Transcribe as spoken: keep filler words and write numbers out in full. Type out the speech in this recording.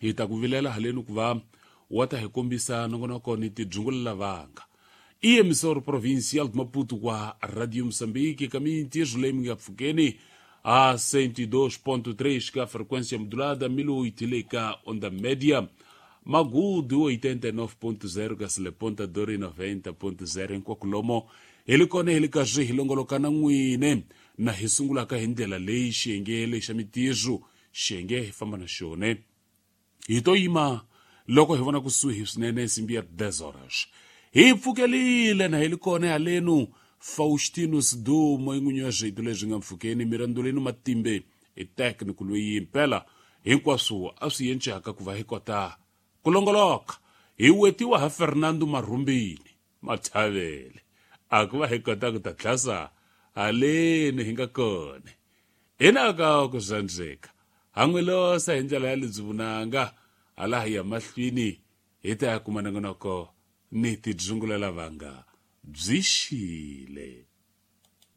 Hi ta ku vilela haleni ku va wa ta hi kombisa nongonoko ni tidyungulela vanga. I emissora provincial de Maputo kwa Radio Moçambique, caminho tirso leyi mi nga pfukeni a cento e dois ponto três ka frequência modulada, mil e oito le ka onda média, Magudu oitenta e nove ponto zero ka Seleponta Dori noventa ponto zero hinkwako lomo hi li kona hi li karhi hi longoloka na n'wine na hi sungulaka hi ndlela leyi xiyenge lexa mitirho xiyenge hi famba na xona. Hi to yima loko hi vona kusuhi swinene nsimbi ya dez horas. Hi pfukelile na hi li kona halenu Faustino Sidumo i n'winyi wa swito leswi nga mpfhukeni Mirandolino Matimbe i técnico loyi impela hinkwaswo a swi yencaka ku va hi kota ku longoloka. Hi wetiwa ha Fernando Marhumbini Mathavele a ku va hi kota ku ta tlhasa haleni hi nga kona. Hinaka ku zwandzeka ha n'wi losa hi ndlela ya lebyi vunanga hala hi ya mahlweni hi ta ya kuma nongonoko ni tidyungulela vanga byi xile.